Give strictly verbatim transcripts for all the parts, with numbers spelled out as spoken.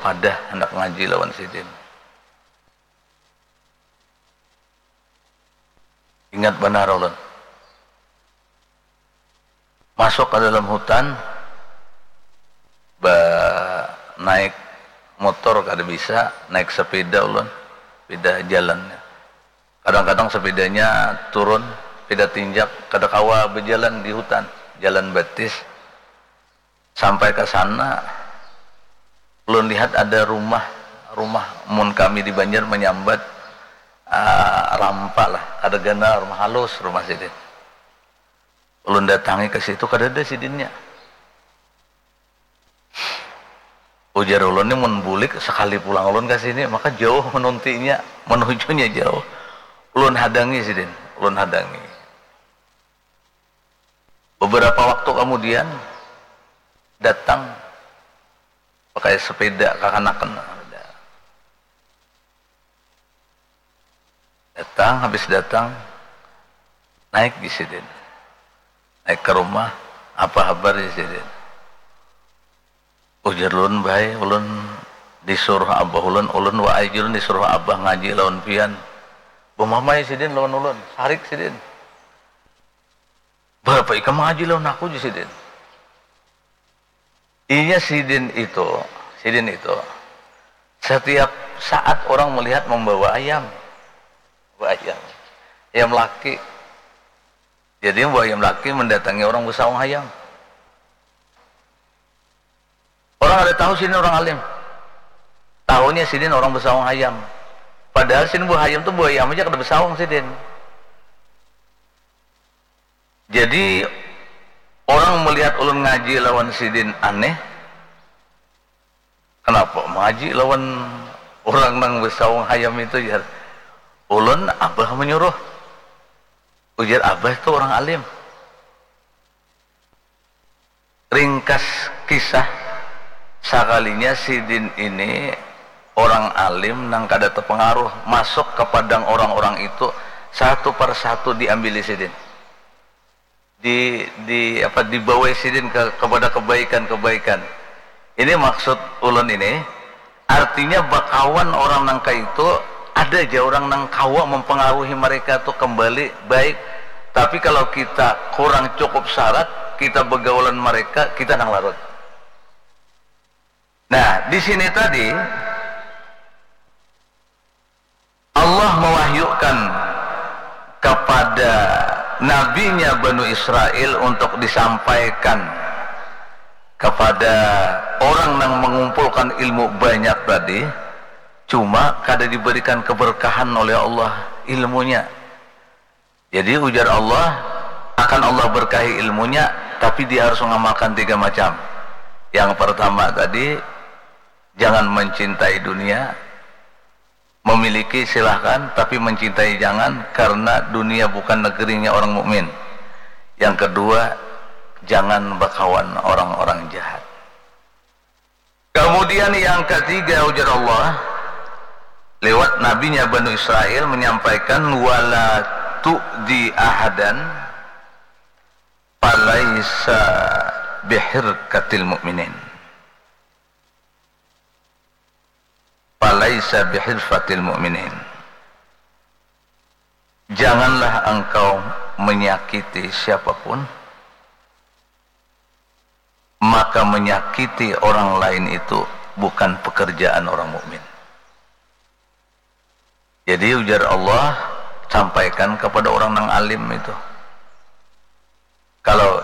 padah handak ngaji lawan sidin. Ingat banar ulun. Masuk ka dalam hutan, ba naik motor kada bisa, naik sepeda ulun, sepeda jalannya. Kadang-kadang sepedanya turun, sepeda tinjak, kada kawa bejalan di hutan, jalan batis. Sampai ka sana, ulun lihat ada rumah, rumah mun kami di Banjar menyambat, ah, rampa lah, kada ganal, rumah halus rumah sidin. Ulun datangi ke situ, kadada sidinnya. Ujar ulun ni, mun bulik sekali pulang ulun ke sini, maka jauh menuntinya, menujunya jauh. Ulun hadangi sidin, ulun hadangi. Beberapa waktu kemudian, datang pakai sepeda kakanakan. Datang, habis datang, naik di sidin. Naik ke rumah, apa habar di sidin? Ujar ulun, baik, ulun disuruh abah ulun, ulun waai jul disuruh abah ngaji lawan pian. Bemamai sidin lawan ulun, sarik sidin. Berapa ikam ngaji lawan aku, ji sidin. Inya sidin itu, sidin itu, setiap saat orang melihat membawa ayam. Membawa ayam. Ayam laki. Jadi membawa ayam laki mendatangi orang besaung hayam. Orang ada tahu sidin orang alim. Tahunya sidin orang besaung hayam. Padahal sidin buah hayam tu buah ayam aja kada besaung sidin. Jadi orang melihat ulun ngaji lawan sidin aneh. Kenapa mengaji lawan orang nang besaung hayam itu, jar. Ulun abah menyuruh. Ujar abah tu orang alim. Ringkas kisah, sakalinya sidin ini orang alim nang kada terpengaruh, masuk ke padang orang-orang itu, satu per satu diambili sidin. Di, di apa, dibawai sidin ke, kepada kebaikan-kebaikan. Ini maksud ulun ini, artinya bakawan orang nang kaitu, ada ja orang nang kawa mempengaruhi mereka tu kembali baik. Tapi kalau kita kurang cukup syarat, kita begaulan mereka, kita nang larut. Nah, di sini tadi Allah mewahyukan kepada nabinya Banu Israel untuk disampaikan kepada orang yang mengumpulkan ilmu banyak tadi, cuma kada diberikan keberkahan oleh Allah ilmunya. Jadi ujar Allah, akan Allah berkahi ilmunya, tapi dia harus mengamalkan tiga macam. Yang pertama tadi, jangan mencintai dunia. Memiliki silahkan, tapi mencintai jangan, karena dunia bukan negerinya orang mukmin. Yang kedua, jangan bakawan orang-orang jahat. Kemudian yang ketiga, ujar Allah lewat nabinya Banu Israel menyampaikan, wala tu'di ahadan falaisa bihirkatil mu'minin. Falaisa bihirfatil mu'minin. Janganlah engkau menyakiti siapapun, maka menyakiti orang lain itu bukan pekerjaan orang mukmin. Jadi ujar Allah, sampaikan kepada orang nang alim itu. Kalau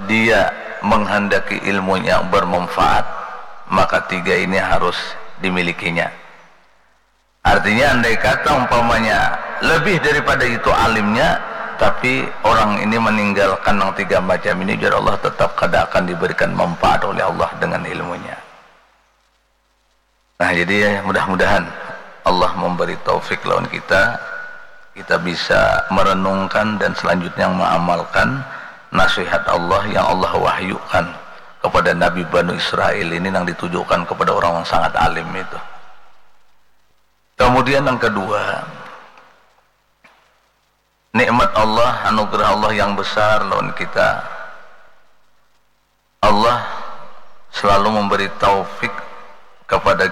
dia menghendaki ilmunya bermanfaat, maka tiga ini harus dimilikinya. Artinya, andai kata umpamanya lebih daripada itu alimnya, tapi orang ini meninggalkan yang tiga macam ini, ujar Allah, tetap kada akan diberikan manfaat oleh Allah dengan ilmunya. Nah, jadi mudah-mudahan Allah memberi taufik lawan kita, kita bisa merenungkan dan selanjutnya mengamalkan nasihat Allah yang Allah wahyukan kepada Nabi Banu Israel ini, yang ditujukan kepada orang yang sangat alim itu. Kemudian yang kedua, nikmat Allah, anugerah Allah yang besar lawan kita. Allah selalu memberi taufik kepada